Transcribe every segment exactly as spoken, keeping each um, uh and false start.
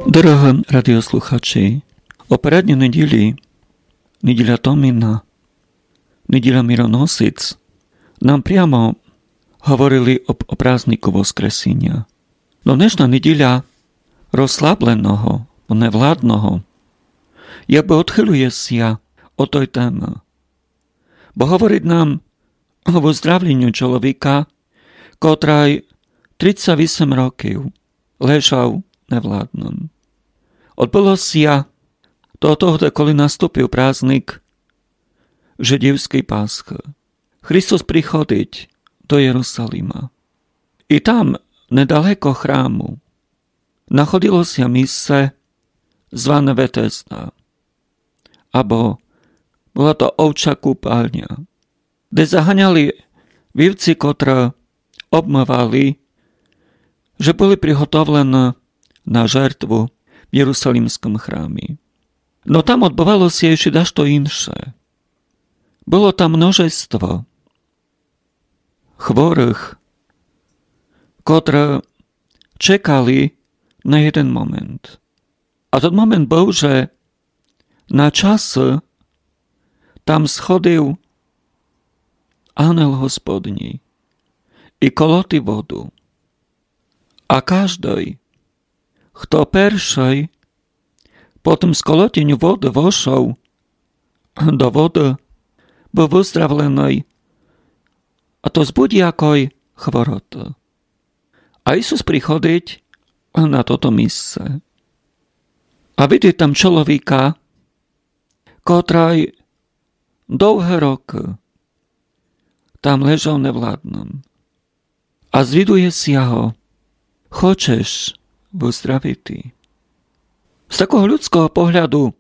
Дорогы радіослухачі, о передній неділі, неділя Томіна, неділя Мироносиць, нам прямо говорили об, о празднику Воскресіня. Но днешна неділя розслабленого, невладного, якбы одхилює ся од той темы. Бо говорить нам о выздравленю чоловіка, котрый тридцять вісім років лежав невладным. Одбыло ся то тогды, коли наступив праздник жидівской Пасхы. Христос приходить до Єрусалима. І там, недалеко храму, находило ся місце, зване Ветесда, або была то овча купальня, де заганяли вівці, котры обмывали, же были приготовлены на жертву в єрусалимскім храмі. Но там одбывало ся іщі дашто інше. Было там множество хворых, котры чекали на єден момент. А тот момент был, же на часу там сходив ангел Господній і колотив воду. А каждый, хто першый по тым сколотіню воды вошов до воды, был выздравленый, а то з будь-якой хвороты. А Ісус приходить на тото місце. А видить там чоловіка, котрый довгы рокы там лежав невладным. А звідує ся го: Хочеш выздравити? З такого людского погляду,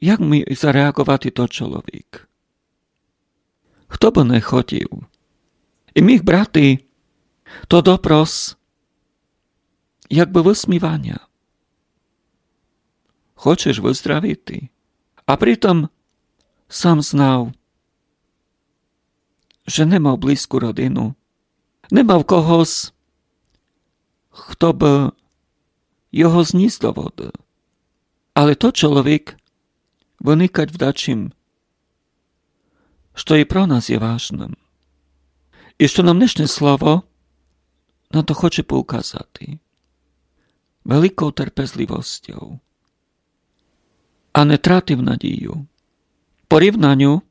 як міг зареаговати тот чоловік? Хто бы не хотів і міг брати то допрос якбы высміваня. Хочеш выздравити? А притом сам знав, же не мав близьку родину, не мав когось, хто бы його зніс до воды. Але тот чоловік выникать в дачім, што і про нас є важным. І што нам днешне слово на то хоче поуказати. Великов терпезлівосцьов. А не тратив надію. В порівнаню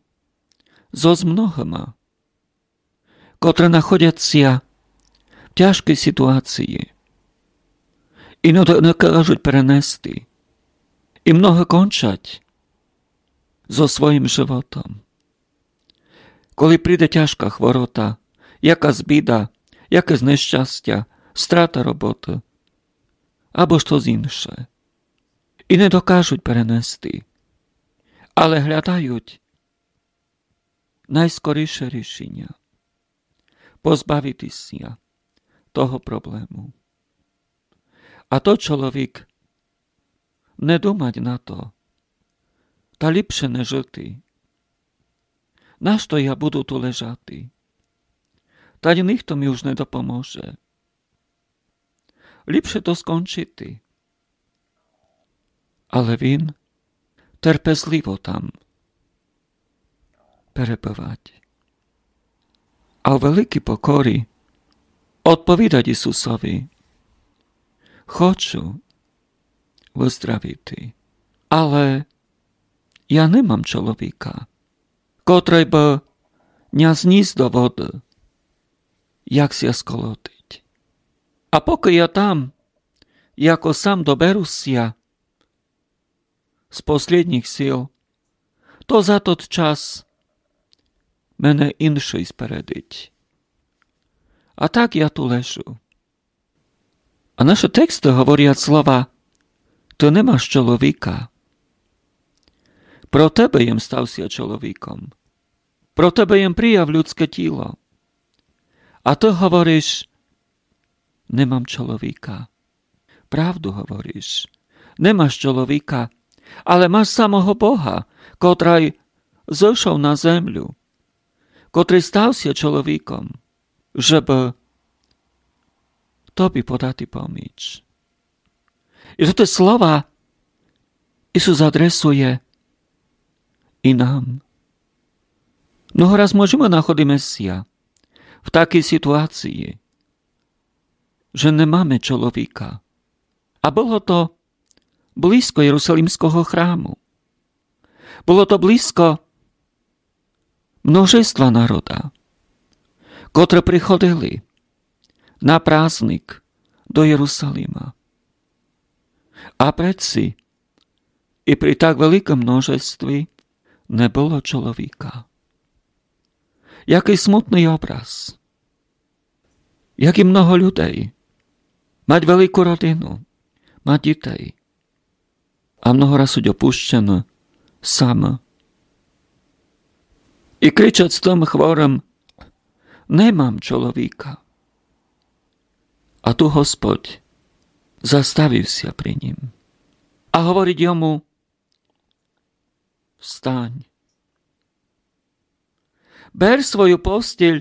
зо з многыма, котры находять ся в тяжкій ситуації і не до-, не кажуть перенести. І многы кончать зо своїм животом. Коли приде тяжка хворота, якась біда, якесь нещастя, страта роботы або штось інше, і не докажуть перенести, але глядають найскоріше рішіня, позбавити ся того проблему. А тот чоловік не думать на то, та ліпше не жити. Нашто я буду ту лежати? Та й ніхто мі уж не допоможе. Ліпше то скончити. Але він терпезліво там перебывать. А у великій покорі одповідать Ісусови: Хочу выздравити, але я не мам чоловіка, котрый бы ня зніс до воды, як ся сколотить. А покы я там, яко сам доберу ся з послїднїх сил, то за тот час мене іншый спередить. А так я ту лежу. А нашы тексты говорять слова: Ты не маш чоловіка. Про тебе єм став ся чоловіком. Про тебе єм прияв людске тіло. А ты говориш: Не мам чоловіка. Правду говориш. Не маш чоловіка, але маш самого Бога, котрый зошов на землю, котрый став ся чоловіком, жебы тоби подати поміч. І тоты слова Ісус адресує і нам. Много раз можеме находиме ся в такій ситуації, же не маме чоловіка. А было то близько Єрусалимського храму. Было то близько множества народа, котры приходили на праздник до Єрусалима. А предси і при так великым множестві не было чоловіка. Якый смутный образ. Як і много людей. Мать велику родину, мать дітей. А много раз суть опущены, самы. І кричать з тым хворым: «Не мам чоловіка». А ту Господь заставив ся при нім. А говорить йому: «Встань. Бер свою постіль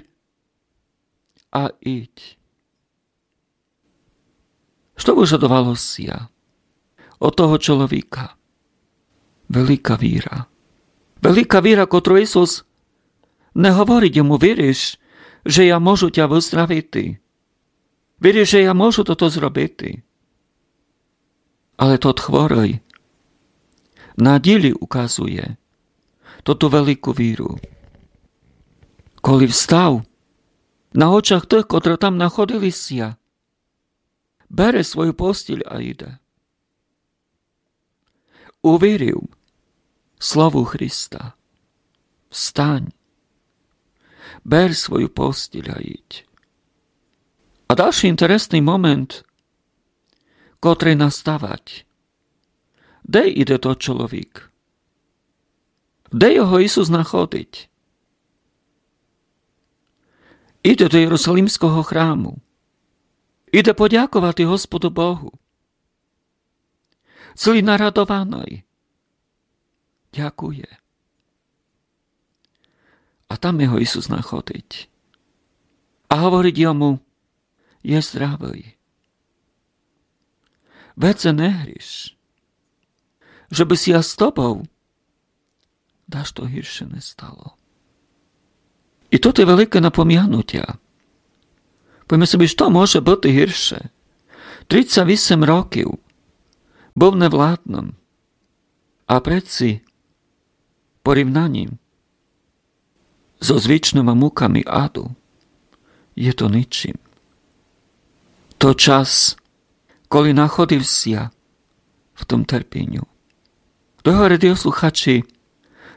а ідь». Што выжадовало ся од того чоловіка? Велика віра. Велика віра, котру Ісус не говорить йому: «Віриш, же я можу тя выздравити? Віриш, же я можу тото зробити?» Але тот хворый на ділі указує тоту велику віру. Коли встав, на очах тых, котры там находили ся, бере свою постіль а іде. Увірив слову Христа: «Встань, бер свою постіль а ідь». А дальшый інтересный момент, котрый наставать. Де іде тот чоловік? Де його Ісус находить? Іде до Єрусалимського храму. Іде подяковати Господу Богу. Цілый нарадованый. Дякує. А там його Ісус находить. А говорить йому: «Є здравый. Веце не гріш, жебы ся з тобов дашто гірше не стало». І тото є велике напомянутя. Повіме собі, што може быти гірше? Тридцять вісім років быв невладным. А предси порівнанім зо звичныма муками аду є то ничим. То час, коли находив ся в тым терпіню. Дорогы радіослухачі,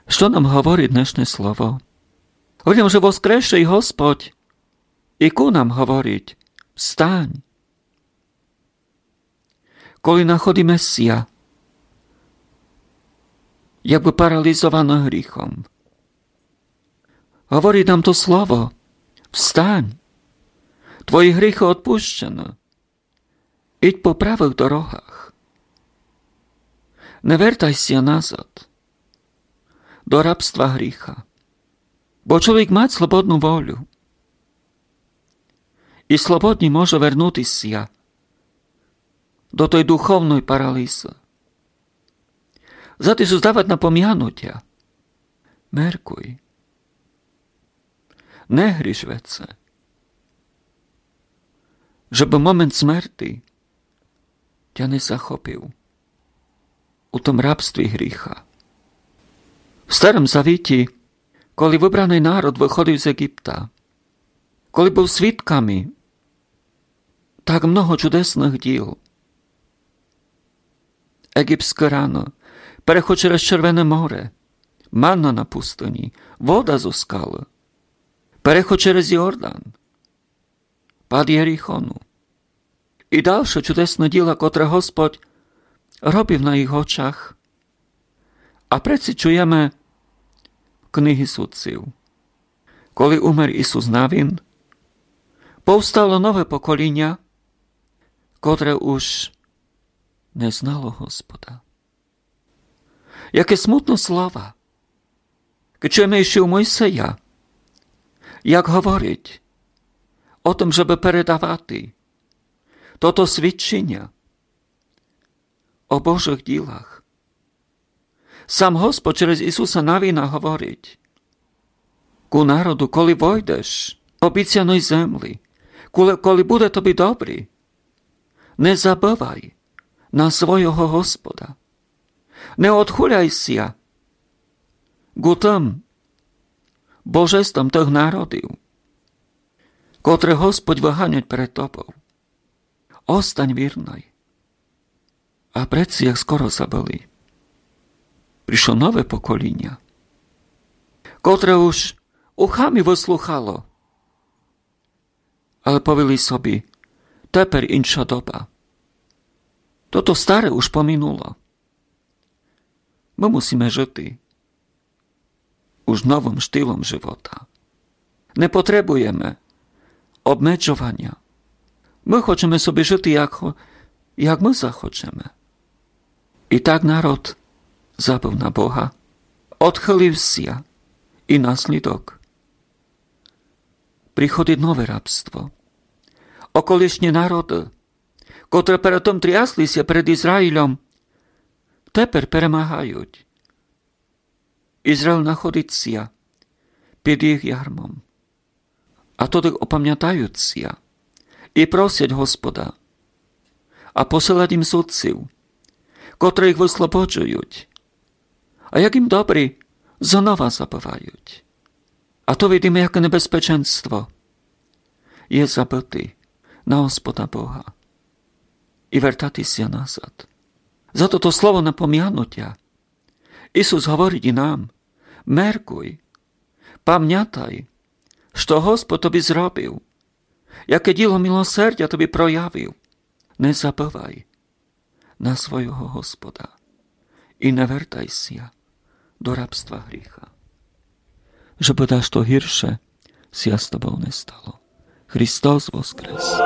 што нам говорить днешне слово? Говорить нам, же воскресшый Господь і ку нам говорить: «Встань». Коли находиме ся якбы паралізовані гріхом, говорить нам то слово: «Встань, твої гріхы одпущены, ідь по правых дорогах, не вертай ся назад до рабства гріха». Бо чоловік мать слободну волю. І слободні може вернути ся до той духовной паралізы. Зато Ісус давать напомянутя. Меркуй. Не гріш веце. Жебы момент смерти тя не захопив у тым рабстві гріха. В Старым Завіті, коли выбраный народ выходив з Єгипта, коли быв свідками так много чудесных діл, єгипске рано, переход через Червене море, манна на пустыні, вода зо скалы, переход через Йордан, пад Єрихону. І дальше чудесны діла, котры Господь робив на їх очах. А предси чуєме в книзі Судців: коли умер Ісус Навін, повстало нове поколіня, котре уж не знало Господа. Яке смутно слова. Кедь чуєме іщи у Мойсея, як говорить о тым, жебы передавати тото свідчіня о Божых ділах. Сам Господь через Ісуса Навіна говорить: ку народу, коли войдеш обіцяной земли, коли, коли буде тобі добрі, не забывай на свойого Господа. Не одхуляй ся ку тым божествам тых народів, котре Господь выганять перед тобов. Остань вірной. А предци їх скоро забыли. Пришло нове поколіня, котре уж ухами выслухало, але повіли собі: тепер інша доба. Тото старе уж поминуло. Мы мусиме жыти уж новым штилом живота. Не потребуєме обмеджованя. Мы хочеме собі жыти, як, хо- як мы захочеме. І так народ забыв на Бога, одхылив ся, і наслідок: приходить нове рабство. Околишні народы, котры перед тым трясли ся перед Ізраїлём, тепер перемагають. Ізраїл находить ся під їх ярмом. А тоды опамятають ся і просять Господа, а посылать їм судців, котры їх выслободжують. А як їм добрі, знова забывають. А то видиме, яке небезпеченство є забыти на Господа Бога і вертати ся назад. Зато то слово напомянутя Ісус говорить і нам: меркуй, памятай, што Господь тобі зробив, яке діло милосердя тобі проявив. Не забывай на свойого Господа і не вертай ся до рабства гріха, жебы дашто гірше ся з тобов не стало. Христос воскрес!